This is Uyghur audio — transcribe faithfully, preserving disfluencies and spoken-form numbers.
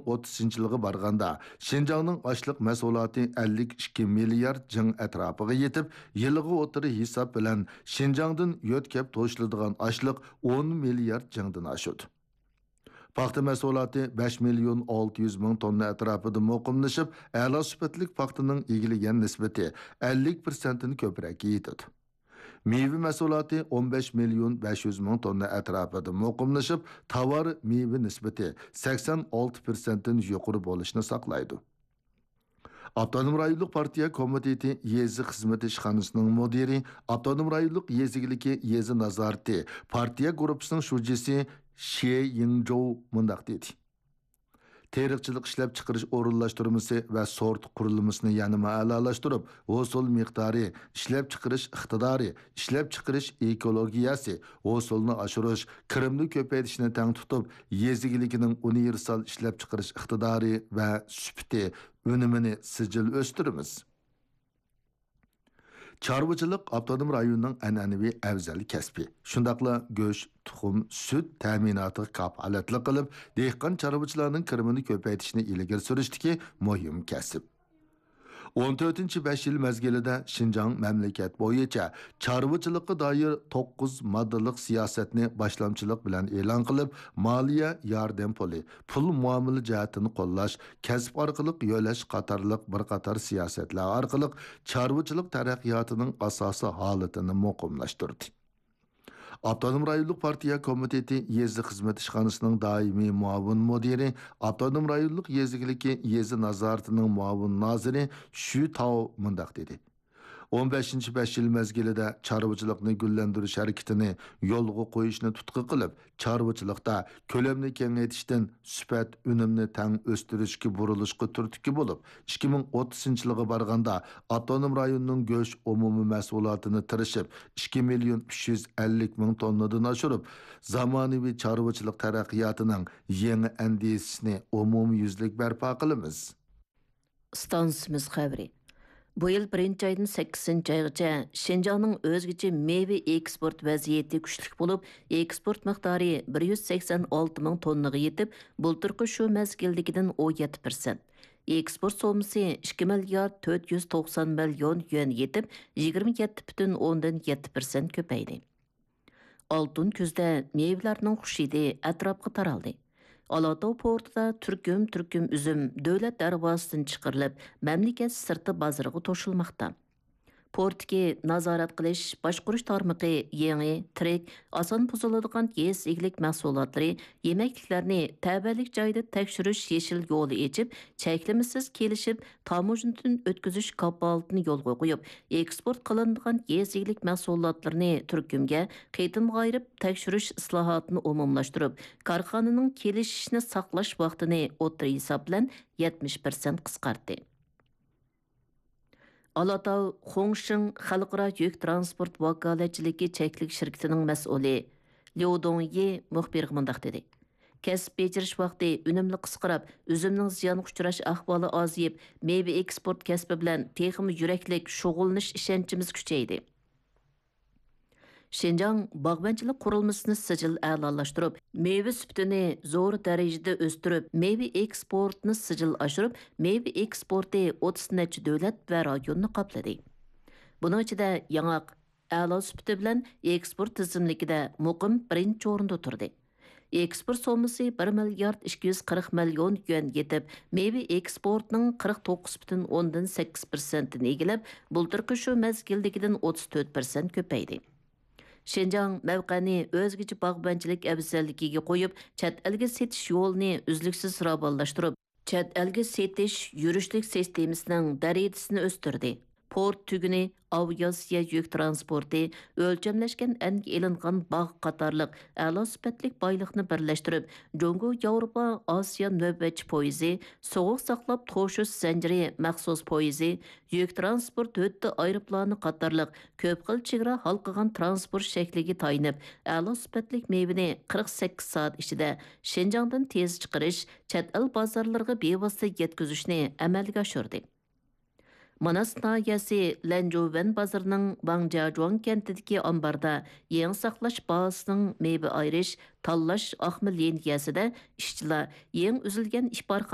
ئوتتۇزىنچى يىلغا بارغاندا، شىنجاڭنىڭ ئاشلىق مەھسۇلاتى ئەللىك ئىككى مىليارد جىڭ ئەتراپىغا يېتىپ، يىلغا ئوتتۇرا ھېساب بىلەن شىنجاڭدىن يۆتكەپ توشۇلىدىغان ئاشلىق ئون مىليارد جىڭدىن ئاشىدۇ. پاختا مەھسۇلاتى بەش مىليون ئالتە يۈز مىڭ توننا ئەتراپىدا مۇقىملىشىپ، ئەلا سۈپەتلىك پاختىنىڭ ئىگىلىگەن نىسبىتى ئەللىك پىرسەنتتىن كۆپرەككە يېتىدۇ. مېۋە مەھسۇلاتى ئون بەش مىليون بەش يۈز مىڭ توننا ئەتراپىدا مۇقىملىشىپ، تاۋار مېۋە نىسبىتى سەكسەن ئالتە پىرسەنتتىن يۇقىرى بولۇشنى ساقلايدۇ. ئاپتونوم رايونلۇق پارتىيە كومىتېتى يېزا خىزمىتى ئىشخانىسىنىڭ مۇدىرى، ئاپتونوم رايونلۇق يېزا ئىگىلىكى يېزا نازارىتى پارتىيە گۇرۇپپىسىنىڭ شۇجىسى شې يىڭجوۋ مۇنداق دېدى: تېرىقچىلىق ئىشلەپچىقىرىش ئورۇنلاشتۇرمىسى ۋە سورت قۇرۇلمىسىنى يەنىمۇ ئەلالاشتۇرۇپ، ھوسۇل مىقدارى، ئىشلەپچىقىرىش ئىقتىدارى، ئىشلەپچىقىرىش ئېكولوگىيەسى، ھوسۇلنى ئاشۇرۇش، كىرىمنى كۆپەيتىشنى تەڭ تۇتۇپ، يېزا ئىگىلىكىنىڭ ئۇنىۋېرسال ئىشلەپچىقىرىش ئىقتىدارى ۋە سۈپىتى، ئۈنۈمىنى سىجىل ئۆستۈرىمىز. چارۋىچىلىق ئاپتونوم رايوننىڭ ئەنئەنىۋى ئەۋزەل كەسپى. شۇنداقلا گۆش، تۇخۇم، سۈت تەمىناتىغا كاپالەتلىك قىلىپ، دېھقان چارۋىچىلارنىڭ كىرىمىنى كۆپەيتىشنى ئىلگىرى سۈرۈشتىكى مۇھىم كەسىپ. ئون تۆتىنچى بەش يىل مەزگىلىدە شىنجاڭ مەملىكەت بويىچە چارۋىچىلىققا دائىر توققۇز ماددىلىق سىياسەتنى باشلامچىلىق بىلەن ئېلان قىلىپ، مالىيە ياردەم پۇلى، پۇل مۇئامىلە جەھەتتىن قوللاش، كەسىپ ئارقىلىق يۆلەش قاتارلىق بىر قاتار سىياسەتلەر ئارقىلىق چارۋىچىلىق تەرەققىياتىنىڭ ئاساسىي ھالىتىنى مۇقىملاشتۇردى. ئاپتونوم رايونلۇق پارتىيە كومىتېتى يېزا خىزمەت ئىشخانىسىنىڭ دائىمىي مۇئاۋىن مۇدىرى، ئاپتونوم رايونلۇق يېزا ئىگىلىكى يېزا نازارىتىنىڭ مۇئاۋىن نازىرى شۈ تاۋ مۇنداق دېدى: ئون بەشىنچى بەش يىل مەزگىلىدە چارۋىچىلىقنى گۈللەندۈرۈش ھەرىكىتىنى يولغا قويۇشنى تۇتقا قىلىپ، چارۋىچىلىقتا كۆلەمنى كېڭەيتىشتىن سۈپەت، ئۈنۈمنى تەڭ ئۆستۈرۈشكە بۇرۇلۇشقا تۈرتكە بولۇپ، ئىككى مىڭ ئوتتۇزىنچى يىلغا بارغاندا ئاپتونوم رايوننىڭ گۆش ئومۇمىي مەھسۇلاتىنى تىرىشىپ، ئىككى مىليون ئۈچ يۈز ئەللىك مىڭ توننىدىن ئاشۇرۇپ، زامانىۋى چارۋىچىلىق تەرەققىياتىنىڭ يېڭى ئەندىزىسىنى ئومۇميۈزلۈك بەرپا قىلىمىز. ئىستانسىمىز خەۋىرى. بۇ يىل بىرىنچى ئايدىن سەككىزىنچى ئايغىچە شىنجاڭنىڭ ئۆزگىچە مېۋە ئېكسپورت ۋەزىيىتى كۈچلۈك بولۇپ، ئېكسپورت مىقدارى بىر يۈز سەكسەن ئالتە مىڭ توننىغا يېتىپ، بۇلتۇرقى شۇ مەزگىلدىكىدىن ئون يەتتە پىرسەنت. ئېكسپورت سوممىسى ئىككى مىليارد تۆت يۈز توقسان مىليون يۈەن يېتىپ، يىگىرمە يەتتە پۈتۈن ئوندىن يەتتە پىرسەنت كۆپەيدى. ئالتۇن كۈزدە مېۋىلەرنىڭ خۇشىدى ئەتراپقا تارالدى. ئالاتاۋ پورتىدا تۈركۈم-تۈركۈم ئۈزۈم دۆلەت دەرۋازىسىدىن چىقىرىلىپ، مەملىكەت سىرتى بازىرىغا توشۇلماقتا. پورتتىكى نازارەت قىلىش، باشقۇرۇش تارمىقى يېڭى، تىرىك، ئاسان بۇزۇلىدىغان يېزا ئىگىلىك مەھسۇلاتلىرى، يېمەكلىكلەرنى تەۋەلىك جايدا تەكشۈرۈش يېشىل يولى ئېچىپ، چەكلىمىسىز كېلىشىپ، تاموژنىدىن ئۆتكۈزۈش كاپالىتىنى يولغا قويۇپ، ئېكسپورت قىلىنىدىغان يېزا ئىگىلىك مەھسۇلاتلىرىنى تۈركۈمگە قېتىمغا ئايرىپ تەكشۈرۈش ئىسلاھاتىنى ئومۇملاشتۇرۇپ، كارخانىنىڭ كېلىشىشنى ساقلاش ۋاقتىنى ئوتتۇرا ھېساب بىلەن يەتمىش پىرسەنت قىسقارتتى. ئالاتاۋ خۇڭشىڭ خەلقئارا يۈك تىرانسپورت ۋاكالەتچىلىكى چەكلىك شىركىتىنىڭ مەسئۇلى ليۇ دۇڭيى مۇخبىرغا مۇنداق دېدى: كەسىپ بېجىرىش ۋاقتى ئۈنۈملۈك قىسقىراپ، ئۈزۈمنىڭ زىيانغا ئۇچراش ئەھۋالى ئازىيىپ، مېۋە ئېكسپورت كەسپى بىلەن تېخىمۇ يۈرەكلىك شۇغۇللىنىش ئىشەنچىمىز كۈچەيدى. شىنجاڭ باغۋەنچىلىك قۇرۇلمىسىنى سىجىل ئەلالاشتۇرۇپ، مېۋە سۈپىتىنى زور دەرىجىدە ئۆستۈرۈپ، مېۋە ئېكسپورتىنى سىجىل ئاشۇرۇپ، مېۋە ئېكسپورتى ئوتتۇز نەچچە دۆلەت ۋە رايوننى قاپلىدى. بۇنىڭ ئىچىدە ياڭاق ئەلا سۈپىتى بىلەن ئېكسپورت تىزىملىكىدە مۇقىم بىرىنچى ئورۇندا تۇردى. ئېكسپورت سوممىسى بىر مىليارد ئىككى يۈز قىرىق مىليون يۈەن يېتىپ، مېۋە ئېكسپورتىنىڭ قىرىق توققۇز پۈتۈن ئوندىن سەككىز پىرسەنتىنى ئىگىلەپ، بۇلتۇرقى شۇ مەزگىلدىكىدىن ئوتتۇز تۆت پىرسەنت كۆپەيدى. شىنجاڭ مەۋقەنى ئۆزگىچە باغۋەنچىلىك ئەۋزەللىكىگە قويۇپ، چەت ئەلگە سېتىش يولىنى ئۈزلۈكسىز راۋانلاشتۇرۇپ، چەت ئەلگە سېتىش يۈرۈشلۈك سىستېمىسىنىڭ دەرىجىسىنى ئۆستۈردى. پورت تۈگۈنى، ئاۋىئاتسىيە يۈك تىرانسپورتى، ئۆلچەملەشكەن ئەنگە ئېلىنغان باغ قاتارلىق ئەلا سۈپەتلىك بايلىقنى بىرلەشتۈرۈپ، جۇڭگو ياۋروپا ئاسىيا نۆۋەتچى پويىزى، سوغۇق ساقلاپ توشۇش زەنجىرى مەخسۇس پويىزى، يۈك تىرانسپورت ھۆددە ئايروپىلانى قاتارلىق كۆپ خىل چېگرا ھالقىغان تىرانسپورت شەكلىگە تايىنىپ، ئەلا سۈپەتلىك مېۋىنى قىرىق سەككىز سائەت ئىچىدە شىنجاڭدىن تېز چىقىرىش، چەت ئەل بازارلىرىغا بىۋاسىتە يەتكۈزۈشنى ئەمەلگە ئاشۇردى. ماناس ناھىيەسى لەنجۇۋەن بازىرىنىڭ ۋاڭجياجۇاڭ كەنتىدىكى ئامباردا يېڭى ساقلاش بازىسىنىڭ مېۋە ئايرىش، تاللاش ئاقما لىنىيەسىدە ئىشچىلار يېڭى ئۈزۈلگەن ئىپارخانا